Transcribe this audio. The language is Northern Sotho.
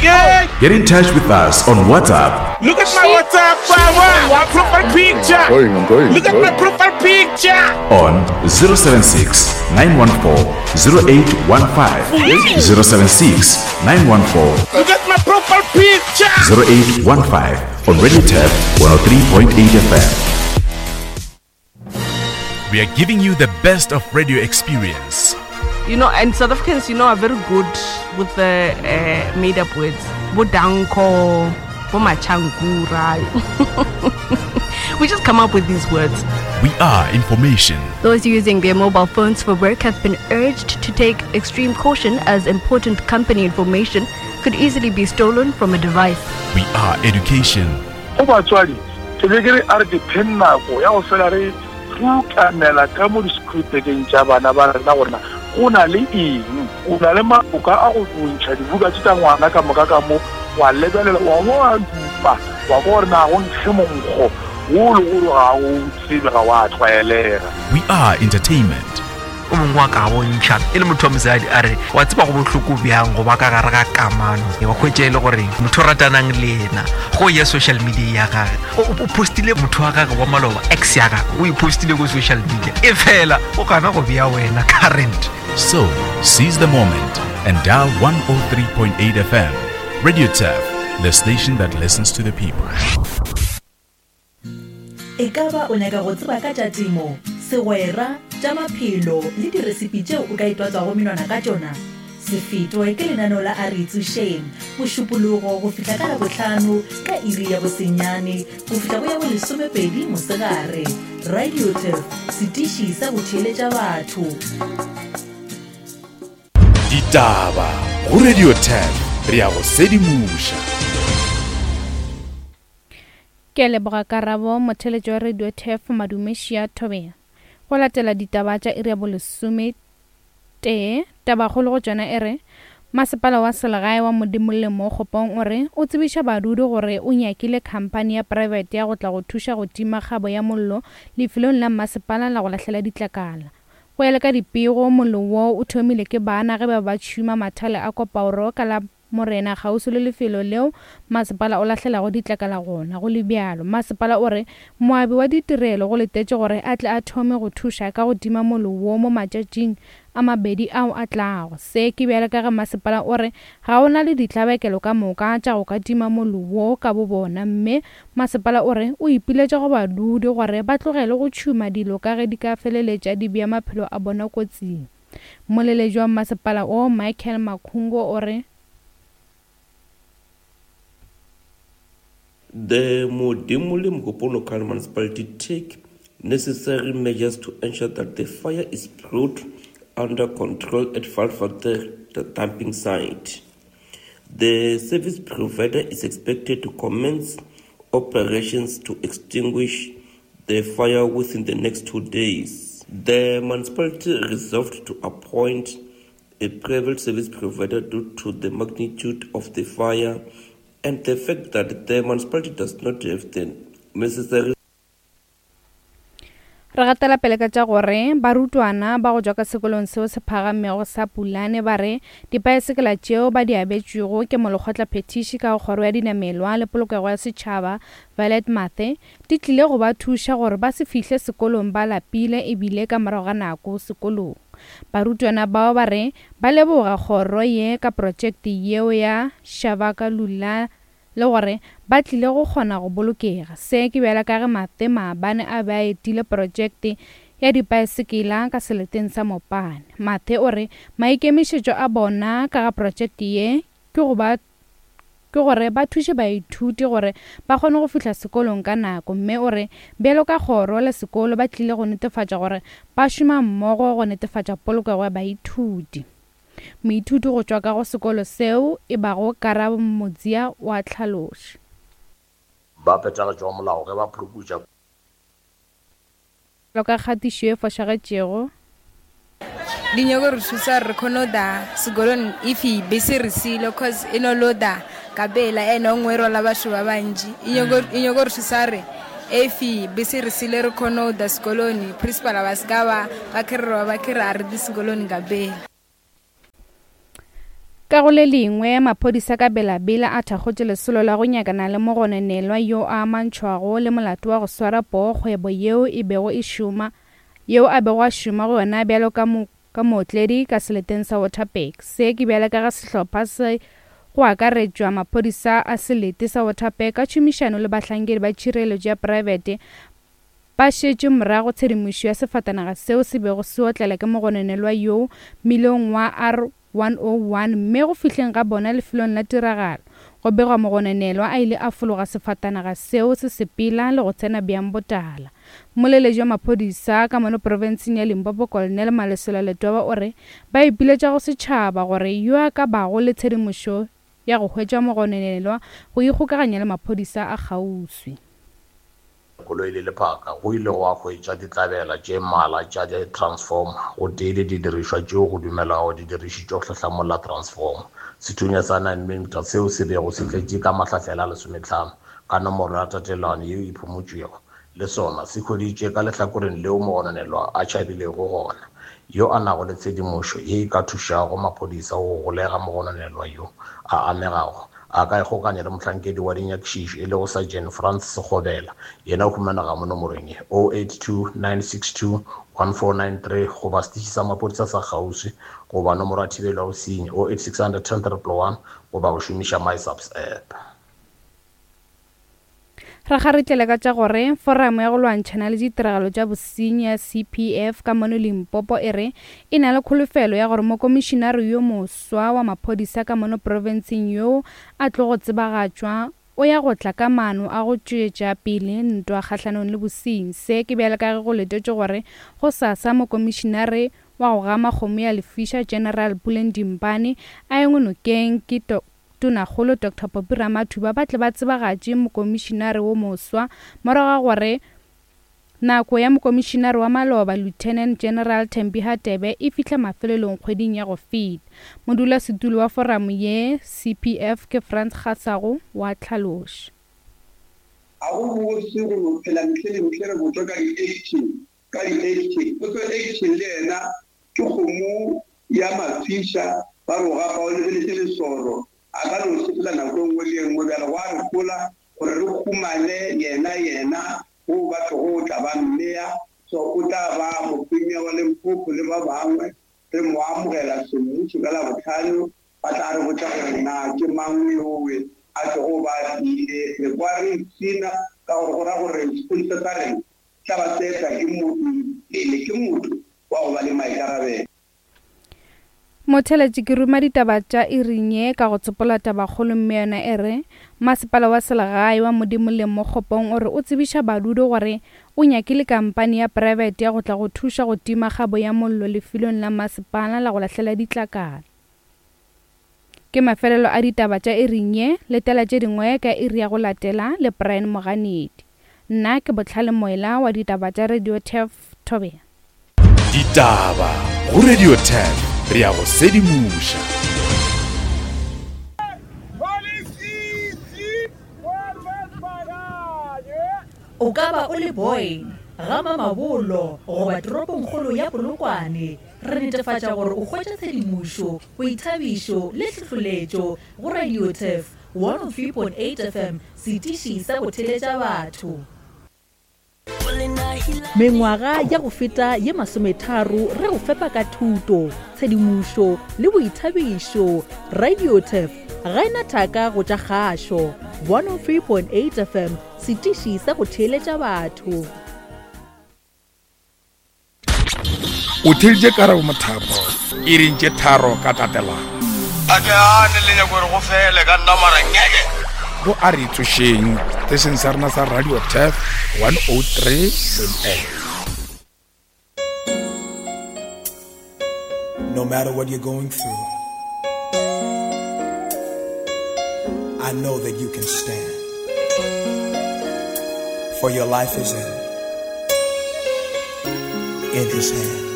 Yeah. Get in touch with us on WhatsApp. Look at my WhatsApp, my profile picture. I'm going, I'm going, Look at I'm my going. profile picture. On 076 914 0815. 076 914 Look at my profile picture. 0815 on Radio Tap 103.8 FM. We are giving you the best of radio experience. You know, and South Africans, you know, are very good with the made up words. Bodanko, Bomachankura. We just come up with these words. We are information. Those using their mobile phones for work have been urged to take extreme caution as important company information could easily be stolen from a device. We are education. Go batswadi, ke be ke re a re dipheng nako ya go fela re rukanela ka mo disekhurutekeng tša bana ba rena gore na go na le eng. O na le maboka a go ntšha dibuka tše tša ngwana ka moka ka mo, wa lebelela, wa bo wa dupa, wa kwa gore na go nkge monkgo wo le gore ga o tsebe, ga wa tlwaelega. We are entertainment. O mongwe wa ka bontšha e le motho wa mosadi a re wa tseba go bohloko bjang go ba ka gare ga kamano, wa hwetša e le gore motho o ratanang le yena go ya social media ya gage o postile motho wa gage wa maloba, ex ya gage o e postile ko social media, e fela o gana go bea wena current. So seize the moment and dial 103.8 FM. Radio Turf, the station that listens to the people. E ka ba o nyaka go tseba ka tša temo, segwera, tša maphelo le diresipi tšeo o ka itwatswago menwana ka tšona? Se fetwe ke lenaneo la A Re Itsošeng, Mošupologo go fihla ka Labohlano ka iri ya bosenyane go fihla go ya bolesomepedi mosegare. Radio Turf, setiši sa go theeletša batho. Ditaba go Radio Turf, re a go sedimoša. Ke a leboga Karabo, motheeletši wa Radio Turf Madumešia Thobela. Go latela ditaba tša iri ya bolesome tee, tabakgolo go tšona e re, Masepala wa selegae wa Modimolle mo Kgopong o re o tsebiša badudi gore o nyakile khamphani ya praebete ya go tla go thuša go tima kgabo ya mollo lefelong la mmasepala la go lahlela ditlakala. Go ya le ka dipego, mollo woo o thomile ke bana ge ba be ba tšhuma mathale a kopaoro ka la Morena kgauswi le lefelo leo masepala o lahlelago ditlakala gona. Go le bjalo, masepala o re moabi wa ditirelo go letetše gore a tle a thome go thuša ka go tima mollo wo mo matšatšing a mabedi ao a tlago. Se ke bjalo ka ge masepala o re ga o na le ditlabakelo ka moka tša go ka tima mollo wo ka bobona mme masepala o re o ipiletša go badudi gore ba tlogele go tšhuma dilo ka ge di ka feleletša di bea maphelo a bona kotsing. Moleletši wa mmasepala wo, Michael Makhungo o re. The Modimolle Mookgophong Local Municipality take necessary measures to ensure that the fire is brought under control at Vaalwater the dumping site. The service provider is expected to commence operations to extinguish the fire within the next 2 days. The municipality resolved to appoint a private service provider due to the magnitude of the fire and the fact that the municipality does not have the necessary. Re gatela pele ka tša gore barutwana ba go tšwa ka sekolong seo se phagamego sa Pulane ba re dipaesekela tšeo ba di abetšwego ke molekgotlaphethiši ka go kgoro ya dinamelwa le polokego ya setšhaba Violet Mathe di tlile go ba thuša gore ba se fihle sekolong ba lapile e bile ka morago ga nako sekolong. Barutwana bao ba re ba leboga kgoro ye ka protšekte yeo ya Shabaka Lula le gore ba tlile go kgona go bolokega. Se ke bjalo ka ge Mathe maabane a be a etile protšekte ya dipaesekela ka seleteng sa Mopane. Mathe o re maikemišetšo a bona ka ga protšekte ye ke go ba ke gore ba thuše baithuti gore ba kgone go fihla sekolong ka nako mme o re bjalo ka kgoro le sekolo ba tlile go netefatša gore ba šoma mmogo go netefatša polokego ya baithuti. Moithuti go tšwa ka go sekolo seo e bago Karabo Modzia o a hlaloša. Ba phethagatšo wa molao ge ba phuruputša. Bjalo ka kgatišo e fošagetšego. Di nyoko re thusa gore re kgone go da sekolong if bese re siile cause e no lo da ka pela ene o nngwe e rwala batho ba bantši. E nyoko e nyoko re thusa gore if bese re siile re kgone go da sekolong principal ba se ka ba ba kere ba kere a re di sekolong ka pela. Ka go le lengwe, maphodisa ka Bela-Bela a thakgotše lesolo la go nyakana le mogononelwa yo a amantšhwago le molato wa go swara poo kgwebo yeo e bego e šoma yeo a bego a šoma go yona bjalo ka ka mootledi ka seleteng sa Waterberg. Se ke bjale ka ge sehlopha se go akaretšwa maphodisa a selete sa Waterberg ka tšhomišano le bahlankedi ba tšhireletšo ya praebete ba šetše morago tshedimošo ya sefatanaga seo se bego se otlela ke mogononelwa yoo mmilong wa R 101 mme go fihleng ga bona lefelong la tiragalo, go begwa mogononelwa a ile a fologa sefatanaga seo se sepela le go tsena bjang botala. Mmoleletši wa maphodisa ka mono profenseng ya Limpopo Colonel Malesela Letwaba o re ba ipiletša go setšhaba gore yo a ka bago le tshedimošo ya go hwetša mogononelwa go ikgokaganya le maphodisa a kgauswi. Koloi le lephaka, go ile gwa hwetšwa ditlabela tše mmalwa tša di-transformer gotee le didirišwa tšeo go dumelwago di dirišitšwe go hlahlamolla transformer. Sethunya sa 9mm seo se bego se tletše ka mahlahlela a lesometlhano ka nomoro ya tatelano yeo e phumotšwego le sona se hweditšwe ka lehlakoreng leo mogononelwa a tšhabilego gona. Yo a nago le tshedimošo ye e ka thušago maphodisa go golega mogononelwa yo a amegago A ka ikgokanya le mohlankedi wa dinyakišišo e lego Sergeant Frans Sekgobela. Yena o humanega mo nomorong ye, 082 962 1493 goba setiši sa maphodisa sa kgauswi goba nomoro ya thibelo ya bosenyi, 08600 10 111 goba go šomiša MySAPS app. Re kgaritlele ka tša gore Foramo ya go lwantšhana le ditiragalo tša bosenyi ya CPF ka mono Limpopo e re e na le kholofelo ya gore mokomišinare yo moswa wa maphodisa ka mono profenseng yoo a tlogo tsebagatšwa o ya go tla ka maano a go tšwetša pele ntwa kgahlanong le bosenyi. Se ke bjale ka ge go letetšwe gore gosasa mokomišinare wa go gama kgomo ya lefiša General Puleng Dimpane a engwe nokeng ke Tonakgolo Doctor Poppy Ramathuba ba tle ba tsebagatše mokomišinare wo moswa morago ga gore nako ya mokomišinare wa maloba Lieutenant General Thembi Hadebe e fihle mafelelong kgweding ya go feta. Modulasetulo wa foramo ye, CPF, ke Frans Kgasago wa tlhaloša. Ga go bose go no phela ntle le ntle re botšwa ka di-action, ka di-action. Potso action le yena Ke kgomo ya mafiša, ba re o gapa o lebeletše lesoro, a ka no sepela nako e nngwe le e nngwe. Bjale gwa re hola gore re humane yena, yena wo ba tlogo o tla ba mmea, so o tla ba mopremier wa Limpopo le ba bangwe. Re mo amogela semmušo ka Labohlano, ba tla re botša gore na ke mang yowe a tlogo ba a tlile. Re kwa re ipshina ka gore go ra gore sepodisa sa rena tla ba se etla ke motho pele ke motho wa go ba le maikarabelo. Motheeletši ke ruma ditaba tša iring ye ka go tsopola tabakgolo mme yona e re, Masepala wa Selegae wa Modimolleng mo Kgopong o re o tsebiša badudi gore o nyakile kampani ya praebete ya go tla go thuša go tima kgabo ya mollo lefelong la masepala la go lahlela ditlakala. Ke mafelelo a ditaba tša iring ye, letela tše dingwe ka iri ya go latela le Brian Moganedi. Nna ke Bohlale Moela wa ditaba tša Radio Turf Thobela. Ditaba go Radio Turf re ya go sedimoša. O ka ba o le Boyne, ga Mamabolo goba toropongkgolo ya Polokwane, re netefatša gore o hwetša tshedimošo, boithabišo le hlohloletšo go Radio Turf 103.8 FM, setiši sa go theletša batho. Mengwaga ya go feta ye masometharo re go fepa ka thuto, tshedimošo le boithabišo. Radio Turf ga e na thaka go tša kgašo. 103.8 FM, setiši sa go theeletša batho. O theeditše Karabo Mothapo iring tše tharo ka tatelano. A ke gane le nyako gore go fele ka nna mara ngeke. Go a re tsošeng station sa rena sa Radio Turf 103.8. No matter what you're going through, I know that you can stand. For your life is in, in His hands.